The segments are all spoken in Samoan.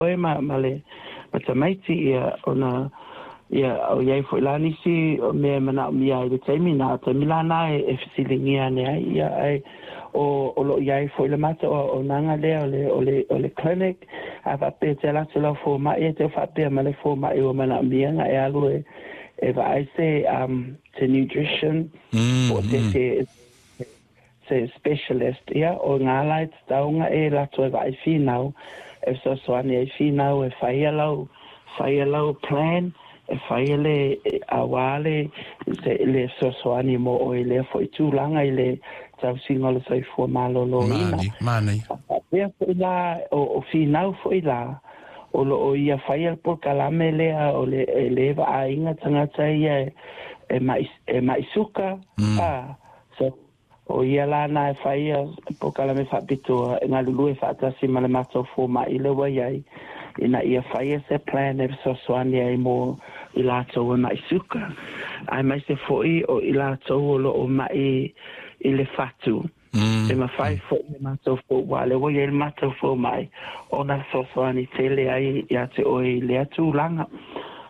Oe ma le ma tamaiti ia ona ia o iai foi la nisi o mea e manaomia ai le taimi na taimi la na e fesiligia ane ai ia ae o lo o iai foi le matou auaunaga lea o le clinic. A faapea te alu atu lau fomai e te faapea ma le fomai ua manaomia na e alu e vaai se nutrition po o se specialist ia o ngā lai te taunga e lato e vaai finau e fesoasoani ai finau e whaia lau plan e whaia le auā le fesoasoani mo o i lea foi tulaga i le tausiga o le soifua malōlōina. Mani. Faapea foi la o finau foi la o lo o ia whaia le polokalame lea o le e le vaaiga tagata ia e mai suka. Ah, so o ia la na e whaia polokalame faapitoa e galulue faatasi ma le matou fomaʻi le ua iai ina ia whaia se plan e fesoasoani ai mo i latou e maʻi suka ae mai se foʻi o i latou o lo o maʻi i le fatu. E mafai foʻi le matou fou ua le ua iai le matou fomaʻi ona fesoasoani tele ai ia te oe i lea tulaga.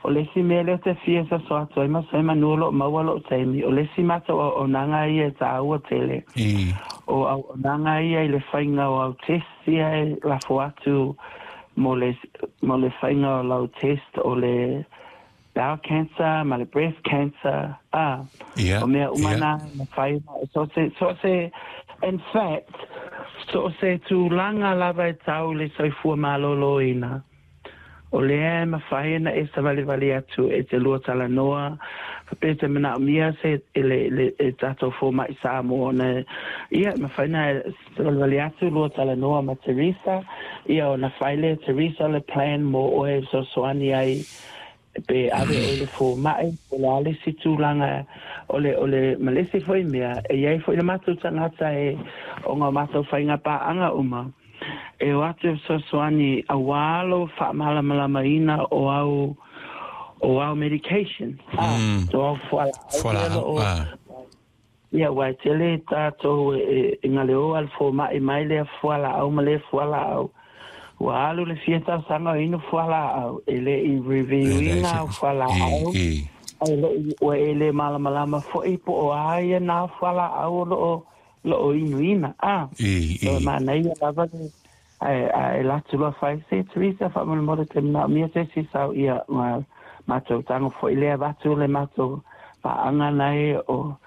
O le isi mea lea te fia soso atu ai ma se manu o loo maua loo taimi, o le isi matou auaunaga ia e tāua tele o auaunaga ia i le faiga o au test ia e lafo atu mo le faiga o lau test o le bowel cancer ma le breast cancer o mea uma na mafai so se in fact so se tulaga lava e tau le soifua malōlōina o lea e mafai ona e savalivali atu e te lua talanoa faapea te manaomia se e le e tatou fomaʻi Samoa na ia mafai na savalivali atu lua talanoa ma Teresa ia ona fai le Teresa le plan mo oe e fesoasoani ai pe ave oe le fomaʻi o le a le isi tulaga o le ma le isi foi mea e iai foi le matou tagata e ona o matou faiga paaga uma e o atu e fesoasoani auā lo faamalamalamaina o au medication o au fualaau. Fualaau. Ia ua e tele tatou e galeoa le fomaʻi mai lea fualaau ma lea fualaau ua alu le fia tausaga o inu fualaau e le i review ina au fualaau ai lo ua e le malamalama foi po o a ia na fualaau o loo inuina so manaia lava le ae latu loa fai se Teresa faamolemole te manaomia se isi sau ia ma matou tago foi lea avatu le matou paaga nai o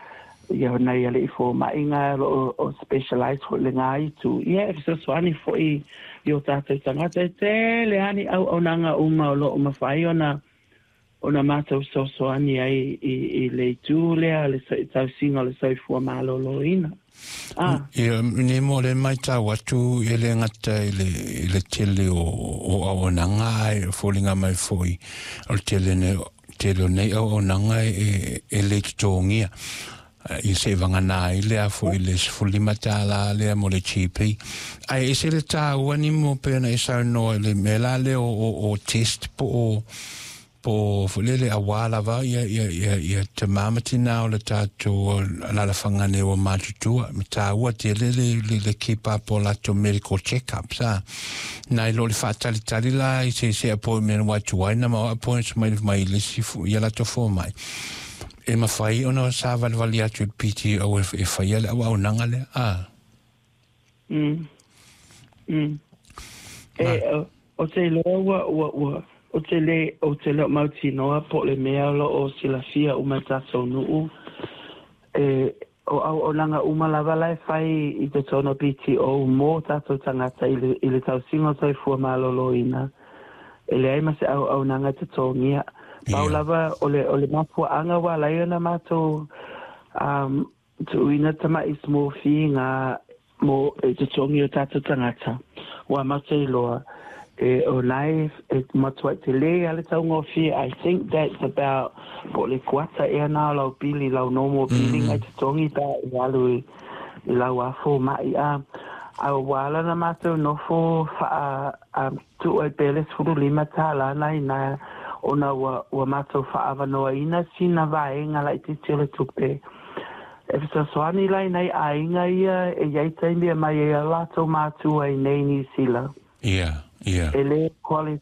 ia nai alii fomaʻi lo o specialize foi le gā itu ia e fesoasoani foi i o tatou tagata e tele ani auaunaga uma o loo mafai ona matou fesoasoani ai i le itu lea le tausiga o le soifua malōlōina. Ia, ni mo le mai tau atu e le ngata i le tele o auaunaga ai foliga mai foi o le tele ne tele o nei auaunaga e le totogia i se vagana ai le a foi le $15 lea mo le GP. Ai e se le tāua ni mo pena e saunoa i le mea la lea o test po o po foi lele auā lava ia te mamatina o le tatou alalafaga ua matutua ma tāua tele le keep up o latou medical check-ups a nai lo le faatalitali la i se appointment ua tuai na ma appointment mai le isi ia latou fomai e mafai ona savalivali atu i le PTO e faia le auaunaga lea a. E o te iloa ua o te le o mautinoa po o le mea o lo o silafia uma i tatou nuu e o auaunaga uma lava la e fai i totonu o PTO mo tatou tagata i le tausiga o soifua malōlōina e leai ma se auaunaga totogia. Pau lava o le mafuaaga ua alai ona matou tuuina tamaʻi small fee ga mo e totogi o tatou tagata ua matou iloa e o nai e matuai tele a le taugofie. I think that's about po o le kuata ea na o lau pili lau normal billing ai totogi pe e alu i lau afo maʻi a ua ala na matou nofo faa tuu ai pea le $15 nai na ona ua matou faaavanoaina sina vaega laitiiti o le tupe e fesoasoani lai nai aiga ia e iai taimi e mai ai a latou matua i nei Nisila. Ia. Ia. E lē.